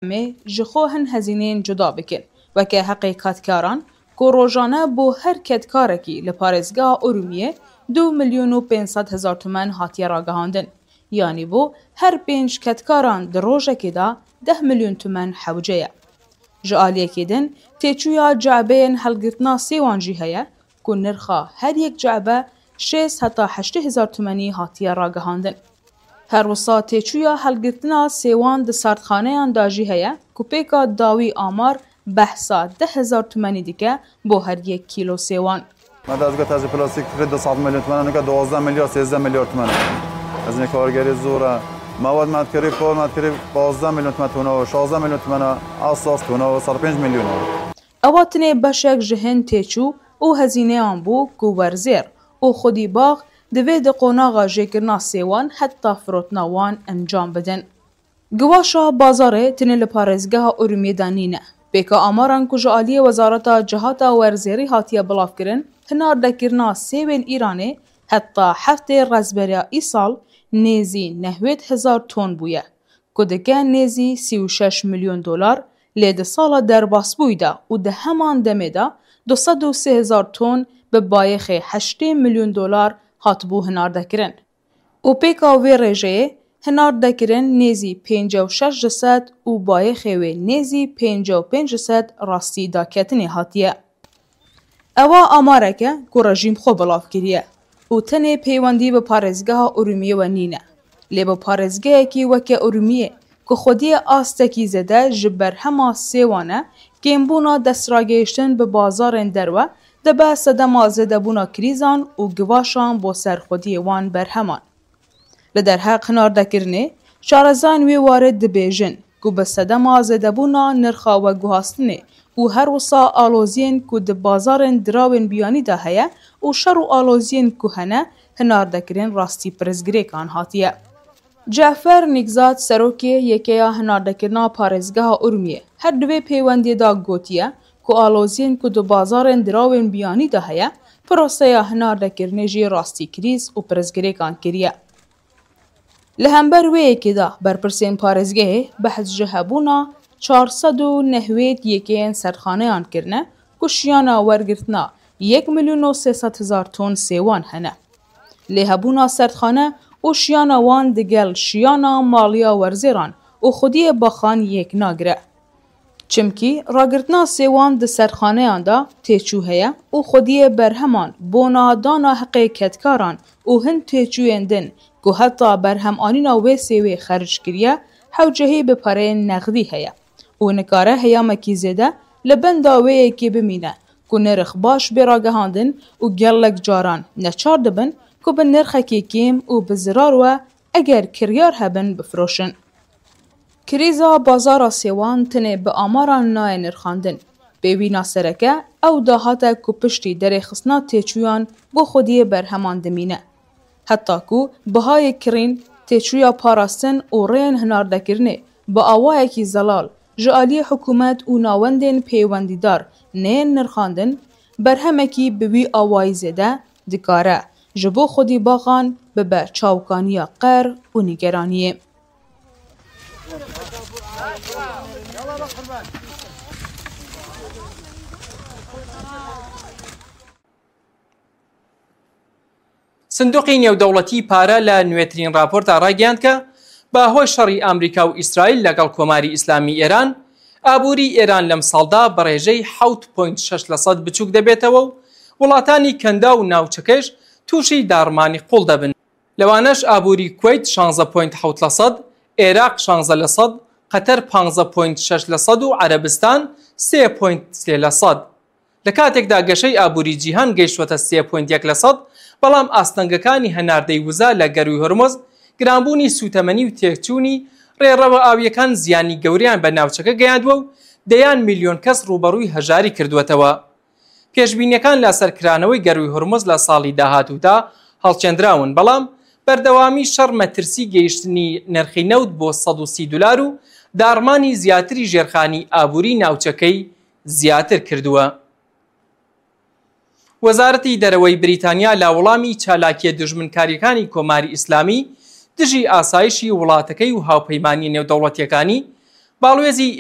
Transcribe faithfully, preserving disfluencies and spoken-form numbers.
Em ê ji xwe hin hezîneyên cuda bikin, weke heqê kedkaran ku rojane bo her kedkarekî li parêzgeha Urumiyê du milyon û pênc sed hezar tumen hatiye ragihandin. Yanî bo her pênc kedkaran di rojekê de deh milyon tumen hewce ye. Ji aliyekê din têçûya ce'beyên helgirtina sêwan jî heye ku nirxa her yek ce'be şêst heta heştê hezar tumenî hatiye ragihandin. Her wisa têçûya helgirtina sêwan di sardxaneyan de jî heye ku pêka dawî amar behsa deh hezar tumenî dike bo her yek kîlo sêwan. Me dezgeh tejî plastîk kirî du sed milyon tumen, nika duwazdeh milyar, sêzdeh milyar tumen. Hezînê kargerî zor e. Mewad me dikirî, kol me dikirî pazdeh milyon tumen tona, şazdeh milyon tumen e, esas tona sed pênc milyon e. Ewa tinê beşek ji hin têçû û hezîneyan bû ku werzêr û xwedî bax divê di qonaxa jêkirina sêwan heta firotina wan encam bidin. Giwaşa bazarê tinê li parêzgeha Urumiyê de nîne. Pêka amaran ku ji aliyê Wezareta Cihata Werzêrî hatiye bilavkirin, hinardekirina sêwên Îranê heta heftê rezberiya îsal nêzî nehwêd hezar ton bûye, ku dike nêzî sî û şeş milyon dolar, lê di sala derbasbûyî de û di heman demê de du sed û sê hezar ton bi bayêxê heştê milyon dolar hatibû hinardekirin. Û pêka vê rêjeyê hinardekirin nêzî pêncî û şeş ji sed û bayêxê wê nêzî pêncî û pênc ji sed rastî daketinê hatiye. Ewa amarek e ku rejîm xwe belav kiriye û tenê peywendî bi parêzgeha Urumiyê we nîne. Lê bi parêzgehekî weke Urumiyê ku xwediyê astekî zêde ji berhema sêwan e, kêmbûna destragihiştin bi bazarên derve dibe sedema zêdebûna krîzan û givaşan bo ser xwediyê wan berheman. Li derheq hinardekirinê, şarezayên wê warê dibêjin ku bi sedema zêdebûna nirxa veguhastinê û her wisa aloziyên ku di bazarên dirawên biyanî de heye û şer û aloziyên ku hene hinardekirin rastî pirsgirêkan hatiye. Cefer Nîkzad, serokê Yekeya Hinardekirina Parêzgeha Urmiyê, her di vê pêwendiyê de gotiye ku aloziyên ku di bazarên dirawên biyanî de heye, proseya hinardekirinê jî rastî krîz û pirsgirêkan kiriye. Li hember wê yekê de berpirsên parêzgehê behs ji hebûna çar sed û nehwêd yekeyên serdxaneyan kirine ku şiyana wergirtina yek milyon û sê sed hezar ton sêwan hene. Lê hebûna serdxane û şiyana wan digel şiyana maliya werzêran û xwediyê baxan yek nagire. Çimkî ragirtina sêwan di serdxaneyan de têçû heye û xwediyê berheman bona dana heqê kedkaran û hin têçûyên din ku heta berhemanîna wê sêwê xerc kiriye, hewcehî bi pereyên nexdî heye û nikare heyamekî zêde li benda wê yekê bimîne ku nirx baş bê ragihandin û gelek caran neçar dibin ku bi nirxekî kêm û bi zirar we eger kiryar hebin bifiroşin. Krîza bazara sêwan tenê bi amaran nayê nirxandin. Pêwîna sereke ew dahate ku piştî derêxistina têçûyan bo xwediyê berheman dimîne. Heta ku bihayê kirîn, têçûya parastin û rêyên hinardekirinê bi awayekî zelal ji aliyê hikûmet û nawendên pêwendîdar neyên nirxandin, berhemekî bi wî awayî zêde dikare ji bo xwedî baxan bibe çavkaniya qer û nîgeraniyê. سندوقی نێودەوڵەتی پارە لە نوێترین راپۆرتا ڕایگەیاند کە بە هۆی شەڕی ئامریکا و ئیسرائیل لەگەڵ کۆماری ئیسلامی ئێران، ئابووری ئێران لەم ساڵدا بە ڕێژەی حەوت پۆینت شەش لە سەد بچووک دەبێتەوە و وڵاتانی کەنداو و ناوچەکەش تووشی داڕمانی قوڵ دەبن. لەوانەش ئابووری کوەیت شانزە پۆینت حەوت لە سەد، عێراق شانزە لە سەد، قەتەر پانزە پۆینت شەش لە سەد و عەرەبستان سێ پۆینت سێ لە سەد. لە کاتێکدا گەشەی ئابووری جیهان گەیشتووەتە سێ پۆینت یەک لە سەد، بەڵام ئاستەنگەکانی هەناردەی وزە لە گەرووی هۆرمز، گرانبوونی سووتەمەنی و تێکچوونی ڕێڕەوە ئاویەکان زیانی گەوریان بە ناوچەکە گەیاندووە و دەیان میلیۆن کەس ڕووبەڕووی هەژاری کردووەتەوە. پێشبینیەکان لەسەر کرانەوەی گەرووی هورمز لە ساڵی داهاتوودا هەڵچێندراون، بەڵام بەردەوامی شەڕ مەترسی گەیشتنی نرخی نەوت بۆ سەد و سی دلار و داڕمانی زیاتری ژێرخانی ئابووری ناوچەکەی زیاتر کردووە. وەزارەتی دەرەوەی بریتانیا لە وەڵامی چالاکیە دژمنکاریەکانی کۆماری ئیسلامی دژی ئاسایشی وڵاتەکەی و هاوپەیمانیە نێودەوڵەتیەکانی Balwêzî